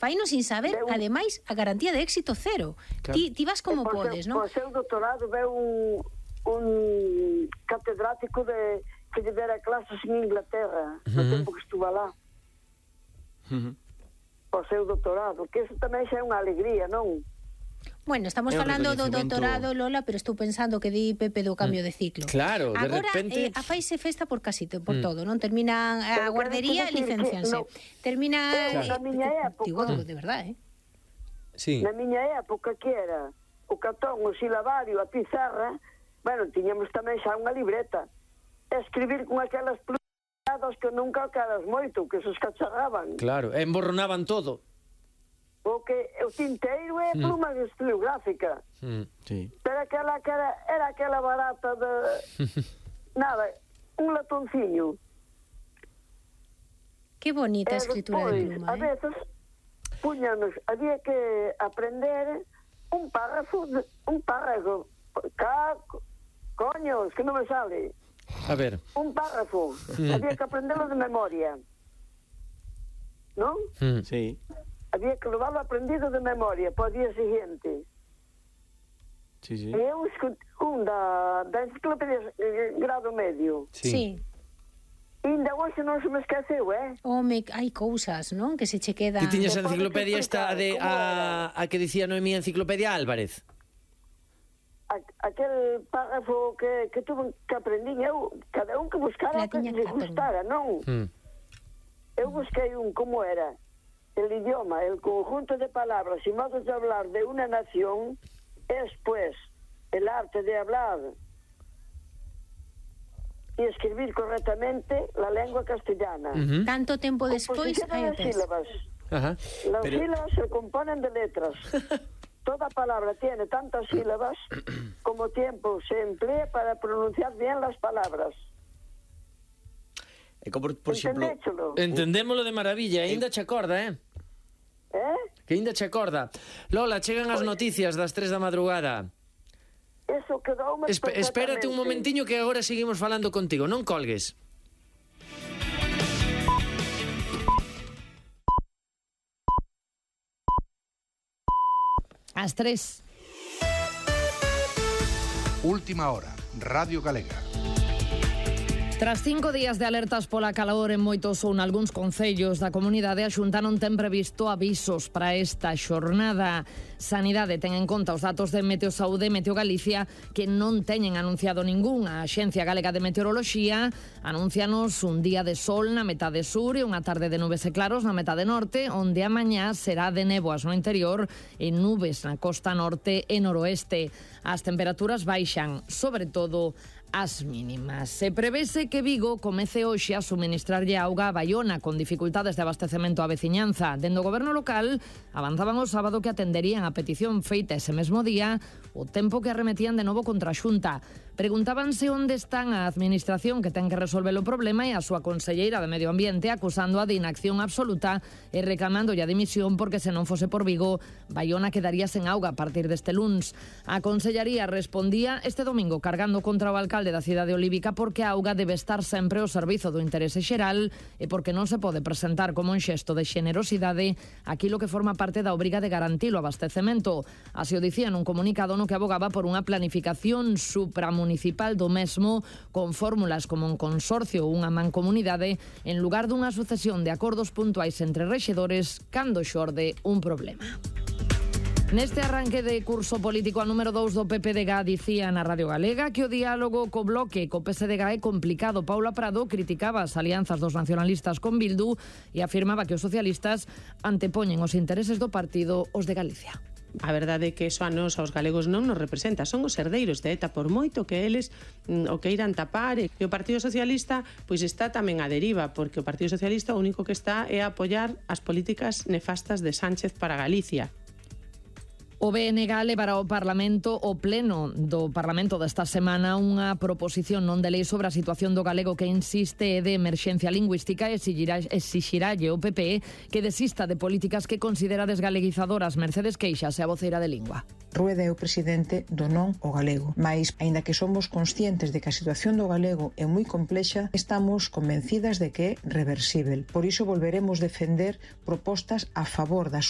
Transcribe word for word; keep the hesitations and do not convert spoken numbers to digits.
Faino sin saber, un... ademais, a garantía de éxito cero. Claro. Ti, ti vas como podes, non? Por seu doutorado veu un, un catedrático de, que lle dera clases en Inglaterra, no Uh-huh. tempo que estuvo lá. Uh-huh. Por seu doutorado, que eso tamén xa é unha alegría, non? Bueno, estamos É un falando do recoñecemento- doutorado, Lola, pero estou pensando que di Pepe do cambio de ciclo. Claro, de Agora, repente- eh, a faise festa por casi to- por Mm. todo, non? Terminan a Pero guardería e quero decir que licencianse. no- Termina... Eh, eh, na miña época- Digo, de verdade, eh? Sí. Na miña época que era o cartón, o silabario, a pizarra, bueno, tiñamos tamén xa unha libreta. Escribir con aquelas plumas que nunca caras moito, que se escacharraban. Claro, e emborronaban todo. Porque o tinteiro é Mm. pluma estilográfica. Mm, sí. Pero aquela que era, era aquela barata de... nada, un latonciño. Que bonita a E escritura de despois, pluma, a eh? veces, puñanos, había que aprender un párrafo, de, un párrafo, ca, coños, que non me sale, A ver. un párrafo, Mm. había que aprenderlo de memoria, non? Mm. Sí, Había que levarlo aprendido de memoria para o día siguiente. sí, sí. E eu escut, un da, da enciclopedia eh, grado medio, Sí. Sí. ainda hoxe non se me esqueceu, eh? Home, hai cousas, non? Que se che quedan... Ti tiñas a Te podes enciclopedia esta explicar de como a, a que dicía Noemí, Enciclopedia Álvarez. A, aquel párrafo que, que tuve que aprendí eu, cada un que buscara La o que tiña lle Catón. gustara, non? Mm. Eu busquei un como era el idioma, el conjunto de palabras y modos de hablar de una nación es pues el arte de hablar y escribir correctamente la lengua castellana. Ujú. Tanto tempo despois, Composición hai de o tes. sílabas. Ajá. Las Pero- sílabas se componen de letras. Toda palabra tiene tantas sílabas como tiempo se emplea para pronunciar bien las palabras. É como, por exemplo... Entendéchelo? Entendémolo de maravilla, aínda che acorda, eh? Eh? Que aínda che acorda. Lola, chegan as noticias das tres da madrugada. Eso quedoume Espe espérate un perfectamente. momentiño que agora seguimos falando contigo, non colgues. As tres. Última hora, Radio Galega. Tras cinco días de alertas pola calor en moitos ou nalgúns concellos da comunidade, a Xunta non ten previsto avisos para esta xornada. Sanidade ten en conta os datos de Meteosaude e Meteo Galicia que non teñen anunciado ningún. A Axencia Galega de Meteoroloxía anuncianos un día de sol na metade sur e unha tarde de nubes e claros na metade norte, onde a mañá será de néboas no interior e nubes na costa norte e noroeste. As temperaturas baixan, sobre todo as mínimas. Se prevese que Vigo comece hoxe a suministrarlle auga a Baiona con dificultades de abastecemento á veciñanza. Dende o goberno local avanzaban o sábado que atenderían a petición feita ese mesmo día o tempo que arremetían de novo contra a Xunta. Preguntábanse onde están a administración que ten que resolver o problema e a súa conselleira de Medio Ambiente acusando a de inacción absoluta e reclamando a dimisión porque se non fose por Vigo, Baiona quedaría sen auga a partir deste luns. A consellaría respondía este domingo cargando contra o alcalde da cidade olívica porque a auga debe estar sempre ao servizo do interese xeral e porque non se pode presentar como un xesto de xenerosidade aquilo que forma parte da obriga de garantir o abastecemento. Así o dicía nun comunicado no que abogaba por unha planificación supramunicipal do mesmo con fórmulas como un consorcio ou unha mancomunidade en lugar dunha sucesión de acordos puntuais entre rexedores cando xorde un problema. Neste arranque de curso político a número dous do P P D G dicía na Radio Galega que o diálogo co bloque co P S D G é complicado. Paula Prado criticaba as alianzas dos nacionalistas con Bildu e afirmaba que os socialistas antepoñen os intereses do partido os de Galicia. A verdade é que eso a nos, aos galegos, non nos representa. Son os herdeiros de ETA, por moito que eles mm, o que irán tapar. E o Partido Socialista pois está tamén a deriva, porque o Partido Socialista o único que está é a apoiar as políticas nefastas de Sánchez para Galicia. O B N G levará ao Parlamento o pleno do Parlamento desta semana unha proposición non de lei sobre a situación do galego que insiste é de emerxencia lingüística e exixirálle o P P que desista de políticas que considera desgaleguizadoras. Mercedes Queixas é a voceira de Lingua. Rueda é o presidente do non o galego, mais, aínda que somos conscientes de que a situación do galego é moi complexa, estamos convencidas de que é reversible. Por iso volveremos defender propostas a favor da súa